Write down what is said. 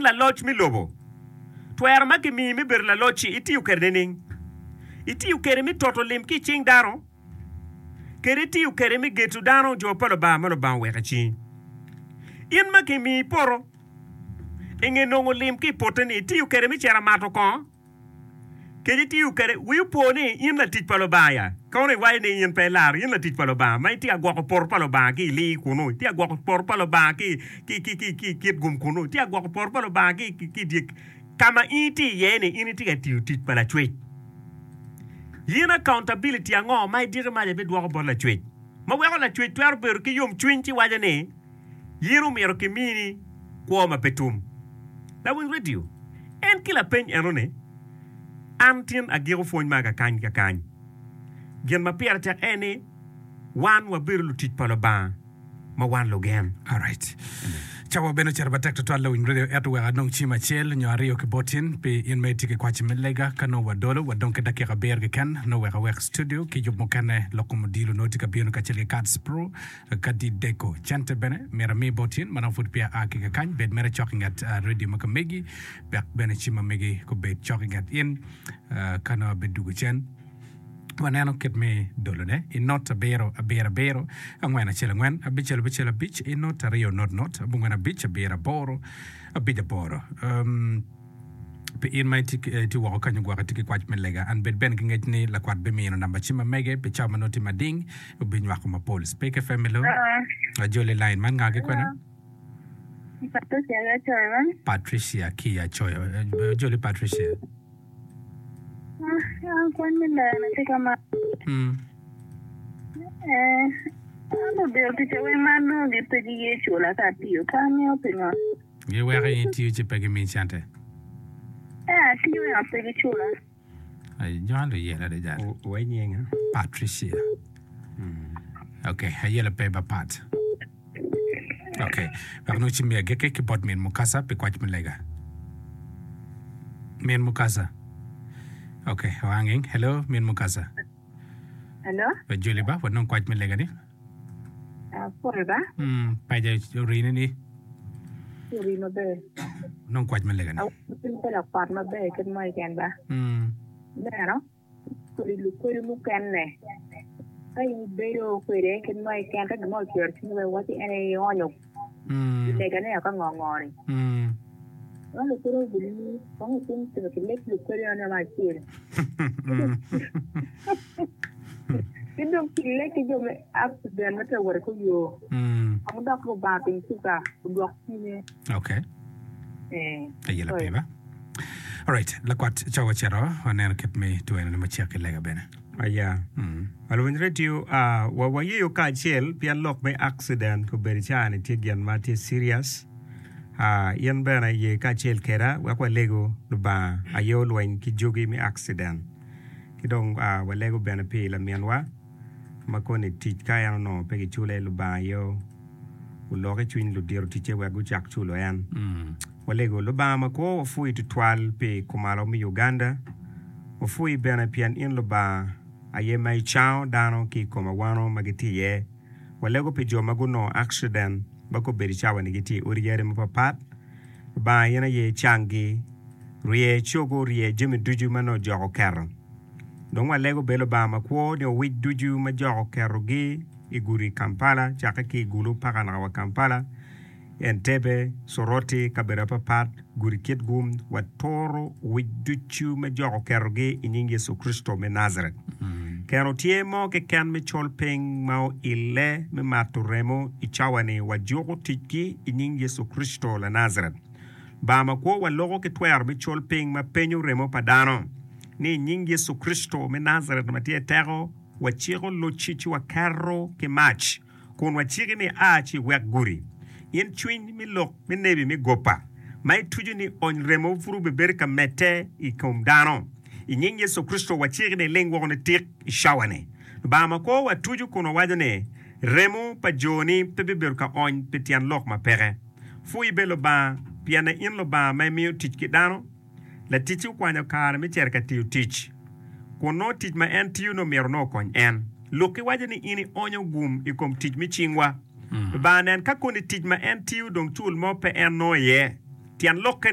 In laloc me lobo. Twero ma kimiyi me bedo laloc-ci itiyo kwede nining? Itiyo kwede me toto lim ki i cing dano? Kadi itiyo kwede me geto dano jo pa Lubanga ma Lubanga oweko i cingi? In ma kimiyi poto, i nge nongo lim ki i pote-ni, itiyo kwede me cito mato kongo? Kadi itiyo kwede, wi opo ni in latic pa Lubanga ya. Kono iwaco ni in pe ilaro, in latic pa Lubanga ma itye ka gwoko poto pa Lubanga ki i lir kunnu, itye ka gwoko poto pa Lubanga ki i kitgum kunnu, itye ka gwoko poto pa Lubanga ki i dye ka ma in itye iye-ni, in itye ka tiyo tic pa Lacwec. In accountability ango ma idiki maca ibidwoko bot Lacwec ma weko Lacwec twero bedo ki yomcwiny ci waco ni, In omyero kimini kwo ma pe tum. Lawiny redio, en ki lapeny eno ni, An tin agiko pwony ma kakany kakany. Gin ma pire tek en ni wan wabedo lutic pa Lubanga ma wan lugen. Alright. Cawa bene ocito matek tutwal lawiny redio ento wek anong cim acel nyo aryo ki bot in pi in ma itye ki kwaci me lega ka nongo wadolo wadong ki dakika abiro keken nongo wek awek studio ki yub mukene lok kom odilo nongo tye ka bino kacel ki Kats Pro Kadi deko cente bene myero ami bot in ma dong pud peya a ki kakany. Bed mere cok i nget redio ma ka megi, wek bene cim ma megi gubed cok i nget in. Ka nongo abidugo cen, waneno kit me dolone i not abiro abiro abiro angwen acel angwen abicel abicel abic i not aryo not not abongwen abic abiro aboro abic aboro. Um, Pi in ma itye woko kany ogwok itye ki kwac me lega, an bed bene ki ngec ni lakwat bimino namba cim ma mege pi cawa ma nongo tye mading, obinywako mapol. Speke FM hello. Ajoli line man nga ki kwene? Patricia ki acoyo man. Patricia ki acoyo. Ajoli Patricia. An kwan me lega na tye ka ma. Mm. Eh, an odiro ticca weng ma anongo gi pe giye cula ka atiyo pe angeyo pingo. Giweko in itiyo ci pe gimiyi cente. Ee, atiyo ento pe gicula. Ai, jo luyela adada. Wa nyinga. Patricia. Ok, ayela pe ba Pat. Ok, wek nongo ci miya agikki ki bot min Mukasa pi kwac me lega. Min Mukasa. Ok, oanging. Hello, min Mukasa. Hello. Wajoli ba, wanong kwac me lega ni. Apwoyo ba. Paja orini ni. Ori maber. Nong kwac me lega ni. Awinyo pe lakwat maber kit mo keken ba. Ineno kodi lukwedi mukene ka in ibedo kwede kit mo keken ka gin mo ocwero cwinyi wek iwaci en aye ionyo i legane ka ngo ngo ni. Nongo lukwedi obilimi kong itim timo ki leb lukwedi eno me acel. Ki dong kille ki jo me accident ma tye ka wot i kor yo, kong dok Lubanga otim kica odwok cwinye. Okay. Eh, Aye sorry. lapiba. Alright, lakwat cawa ocito, waneno kit me twene ni macek ki lega bene. Aya. Mm. Alwony radio, ah, wa wayeyo kacel pien lok me accident obedo caa ni tye gin ma tye serious. Ah, in bene ye kacel keda wek walego Lubanga aye olweny ki jogi me accident. Ki dong walego bene pi laminwa ma koni tic ka en onongo pe kicule, Lubanga aye olok i cwiny ludito ticce wek gucak culo en. Walego Lubanga makwo wapwoyi tutwal pi kumalo me Uganda. Wapwoyi bene pien in Lubanga aye ma icango dano ki i kom awano ma gitye iye. Walego pi jo ma gunongo akciden ma kobedo cawa ni gitye i odi yadi mapapat. Lubanga in aye icanggi, rye cogo, rye jami ducu ma nongo jok oketo. Dong walego bed Lubanga makwo ni owic ducu ma jok oketogi i gudi Kampala, cakke ki i Gulu paka naka wa Kampala, Entebbe, Soroti, kabedo apapat, gudi Kitgum, waturo owic ducu ma jok oketogi i nying Yecu Kricito me Najaret. Keno tye mo keken me col piny ma oille me mato remo i cawa-ni wajuko ticgi i nying Yecu Kricito Lanajaret. Lubanga makwo waloko ki twero me col piny ma penyo remo pa dano ni i nying Yecu Kricito me Najaret ma tye teko waciko locci ci waketo ki mac kun waciki ni a ci iwek gudi. In cwiny me lok me nebi me goba ma ituco ni ony remo pud obibedo ka medde i kom dano. I nying Yecu Kricito waciki ni iling woko nitik i cawa-ni. Lubanga makwo watuco kun wawaco ni, Remo pa joni pe bibedo ka ony pi tyen lok ma peke. Pwui bed Lubanga, pienne in Lubanga ma imiyo tic ki dano. Laticci okwanyo kare me cito ka tiyo tic, kun nongo tic ma en tiyo-ni omyero nongo okony en. Lukki waco ni in ionyo gum i kom tic me cingwa. Lubanga nen ka koni tic ma en tiyo dong cul mo pe en nongo iye. Tyen lokke.